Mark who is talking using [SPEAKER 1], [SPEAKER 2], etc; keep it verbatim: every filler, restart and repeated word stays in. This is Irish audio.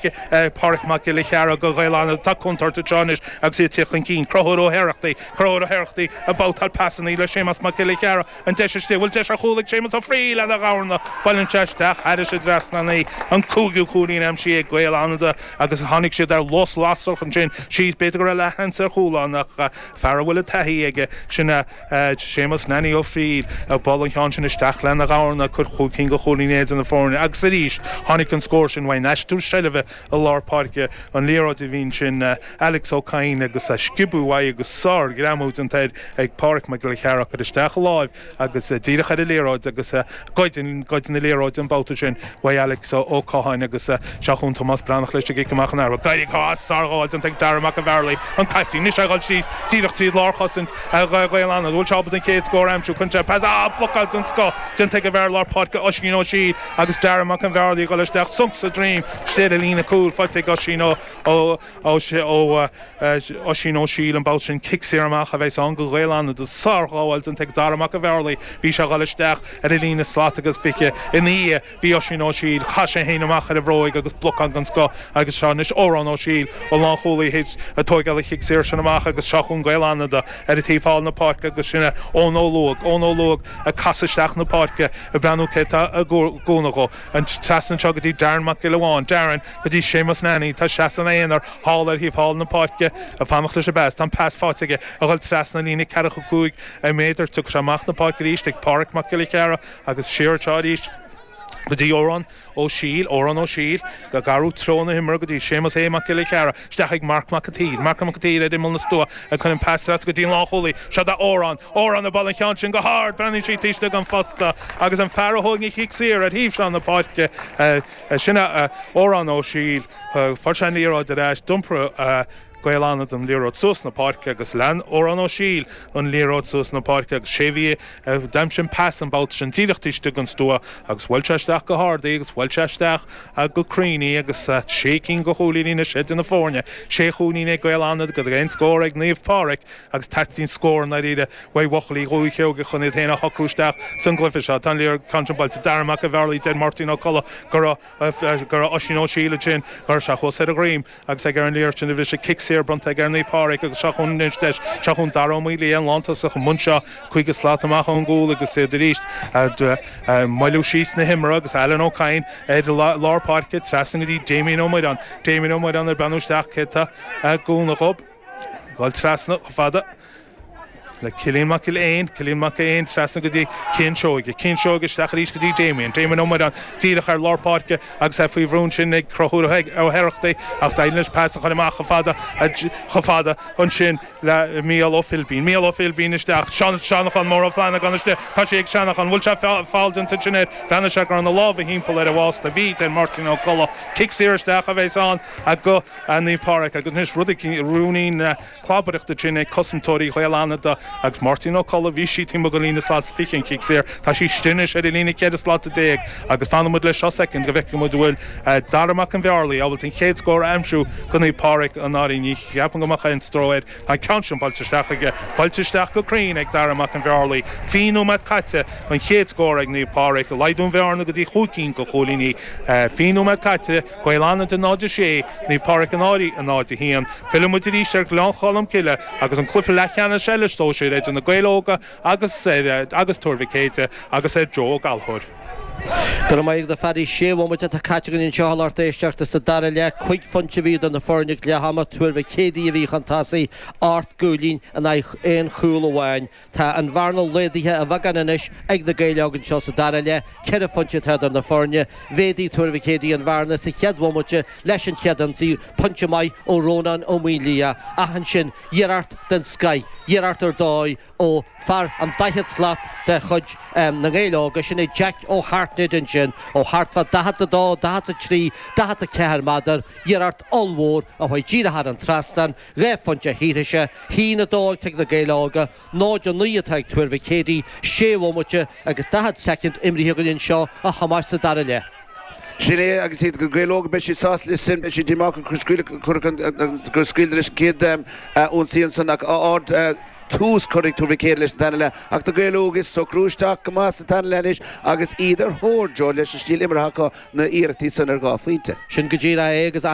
[SPEAKER 1] Pádraic Mac Giolla Chearra do Ghaeil Fhánada. Tá contúirt anseo anois agus iad ag tíocht chun cinn. Conchúr Ó hOireachtaigh, Conchúr Ó hOireachtaigh ag babhtáil pasanna le Séamas Mac Giolla Chearra. An deis istigh, bhfuil deis ar chúl ag Séamas Ó Fríl lena dhorna. Buaileann sé isteach thairis an dtrasnán í. An cúigiú cúilín aimsithe ag Gaeil Fhánada agus tháinig siad ar lus lasrach ansin síos. B'fhéidir go raibh leathsheans ar chúl ann ach fear a bhfuil an taithí aige, sin é Séamas Nanny Ó Fríl, ag bualadh an cheann sin isteach lena dhorna, ag cur chúig cinn de chúilíní idir na foirne agus arís tháinig an scór sin uaidh an aistriú seilbhe i lár páirce, an liathróid a bhí ansin Alex Ó Cadhain agus sciobadh uaidh agus sár-ghreamú déanta air ag Pádraic Mac Giolla Chearra cur isteach a láimh agus díreach ar an liathróid agus goid goid na liathróide an babhta sin uaidh Alex Ó Catháin agus seo chugainn Tomás Breathnach leis an gcic amach an athuair. D'éirigh sár-ghabháil déanta ag Dara Mac an Bhearlaigh, an caiptín, anois é ag dul síos díreach tríd lárchosaint Ghaeil Fhánada. Bhfuil sé ábalta an chéad scór a aimsiú? Cuireann sé pas, ah, blocáil den scoth déanta ag an bhfear lár páirce Oisín Ó Siail agus Dara Mac an Bhearlaigh ag dul isteach sonc sa droim istigh ar an líne cúil faighte ag Oisín Ó Ó Ó Oisín Ó Siail an babhta sin. Cic saor amach a bheas ann do Ghaeil Fhánada. Sárghabháil déanta ag Dara Mac an Bhearlaigh. Bhí sé ag dul isteach ar an líne slat agus fiche ina dhiaidh. Bhí Oisín Ó Siail. Chaith sé féin amach ar an bhróig agus blocáil den scoth agus seo anois Odhrán Ó Siail, an lánchúlaí théis tóigeáil an chic saor sin amach agus seo chugainn Gaeil Fhánada ar an taobh thall na páirce agus sin é Eoin Ó Luaig, Eoin Ó Luaig ag casadh isteach na páirce ag breathnú cé tá i gcúnamh dhó. An trasna anseo go dtí Darren Mac Giolla Bháin, Darren go dtí Séamus Nanny, tá seasamh ina aonar thall ar thaobh thall na páirce ag fanacht leis an bpas. Tá an pas faighte aige ag dhul trasna an líne ceathracha cúig méadar. Tiocfaidh sé amach na páirce arís ag Páraic Mac Giolla Chearra agus siar anseo arís go dtí Odhrán Ó Siail, Odhrán Ó Siail, ag athrú treo na himeartha go dtí Séamus A. Mac Giolla Chearra, isteach ag Marc Mac an tSaoir, Marc Mac an tSaoir ar imeall na stua ag cur an pas trasna go dtí an lánchúlaí, seo do Odhrán, Odhrán ag bualadh an cheann sin go hard, breathnaíonn sí taobh istigh den phosta agus an fear a thóg an chic saor ar thaobh seo na páirce, sin é Odhrán Ó Siail, fuair sé an liathróid ar ais, d'iompair Gaeil Fhánada an liathróid suas na páirce agus lean Odhrán Ó Siail an liathróid suas na páirce agus sé bhí d'aimsigh an pas an babhta sin díreach taobh istigh den stua agus bhuail sé isteach go hard í agus bhuail sé isteach go cruinn í agus sé cinn de chúilíní anois idir na foirne. Sé chúilín ag Gaeil Fhánada agus aon scór ag Naomh Pádraig agus teastaíonn scór i ndáiríre uaidh bhuachaillí Dhúiche Sheoigheach chun iad féin a shocrú isteach san gcluiche seo. Tá an liathróid ceann sin buailte. Dara Mac an Bhearlaigh, deir Máirtín Ó Colla go raibh go raibh Oisín Ó Siail ansin go raibh sé thuas ar a dhroim agus ag ar an liathróid sin a bhris cic saor bronnta ag ar Naomh Pádraig agus seo chugainn anois deis, seo chugainn Dara Ó Maolaodha, an lántosach, i mbun seo, cúig slat amach ón gcúl agus iad arís ag moilliú síos na himeartha agus Alan Ó Cadhain ar lár páirce trasna go dtí Damien Ó Muireáin. Damien Ó Muireáin ag breathnú isteach cé tá i gcúnamh dhób. Dul trasna chomh fada le Cillian Mac Giolla Éin, Cillian Mac Éin trasna go dtí Cian Seoige, Cian Seoige isteach arís go dtí Damien, Damien Ó Muireáin díreach ar lár páirce agus é faoi bhrú ansin ag Conchúr Ó hOireachtaigh ach d'éirigh leis pas a chur amach chomh fada chomh fada ansin le Mícheál Ó Philbín, Mícheál Ó Philbín isteach, Seanachán Mór Ó Flannagáin istigh, tá sé ag Seanachán, bhfuil sé foul déanta ansin air, bhreathnaigh sé go raibh na lámha thimpeall ar a bhásta, bhí, deir Máirtín Ó Colla, cic saor isteach a bheas ann do Naomh Pádraig agus anois rud éigin, ruainnín clabaireachta ansin ag cosantóirí Ghaeil Fhánada agus Máirtín Ó Colla, bhí sí taobh amuigh den líne slat is fiche an cic saor, tá sí istigh anois ar an líne ceithre slata déag agus fanfaidh muid leis seo soicind go bhfeicfidh muid an bhfuil Dara Mac an Bhearlaigh ábalta an chéad scór a aimsiú do Naomh Pádraig i ndáiríre. Ní cheapaim go mbeadh aon stró air. Tá an ceann sin buailte isteach aige, buailte isteach go cruinn ag Dara Mac an Bhearlaigh. Fiche nóiméad caite, an chéad scór ag Naomh Pádraig, laghdú an bhearna go dtí chúig cinn de chúilíní. Fiche nóiméad caite. Gaeil Fhánada náid a sé, Naomh Pádraig an Áirí a náid a haon. Fillfidh muid arís ar Ghleann Cholm Cille agus an cluiche leathcheannais eile sóisir idir na Gaeil Óga agus agus Tuar Mhic Éide agus ar Joe Ó Gallchóir.
[SPEAKER 2] Go raibh maith agat a Phaddy. Sé bhomaite atá caite againn anseo a lucht éisteachta sa dara leath. Cúig phointe a bhí idir na foirne ag leath ama. Tuar Mhic Éadaigh a bhí chun tosaigh, ocht gcúilín in aghaidh aon chúl amháin. Tá an bhearna laghdaithe a bheagán anois ag na Gaeil Óga anseo sa dara leath. Ceithre phointe atá idir na foirne. Mhéadaigh Tuar Mhic Éadaigh an bhearna sa chéad bhomaite leis an chéad ionsaí, pointe maith ó Rónán Ó Maoinliath. Ach ansin, iarracht den scoith, iarracht ar dóigh ó fear an daichead slat de chuid na nGael Óga, sin é Jack Ó hAirtnéide ansin, ó thart fá daichead a dó, daichead a trí, daichead a ceathair méadar, iarracht ollmhór a chuaigh díreach thar an trasnán. Dhá phointe a shaothraigh sé, haon a dó ag na Gaeil Óga, náid a naoi atá ag Tuar Mhic Éadaigh, sé bhomaite agus daichead soicind imrithe againn anseo a Thomáis sa dara leath.
[SPEAKER 3] Sin é agus iad na Gaeil Óga, beidh siad sásta leis sin, beidh siad díomách gur scaoileadh leis an gcéad ionsaí ansan ach ard. Tús curtha ag Tuar Mhic Éadaigh leis an tarna leath ach na Gaeil Óga ag socrú isteach go maith sa tarna leath anois agus iad ar thóir Joe leis an stíl imeartha acu na iarrachtaí san ar dhá phointe.
[SPEAKER 2] Sin go díreach é agus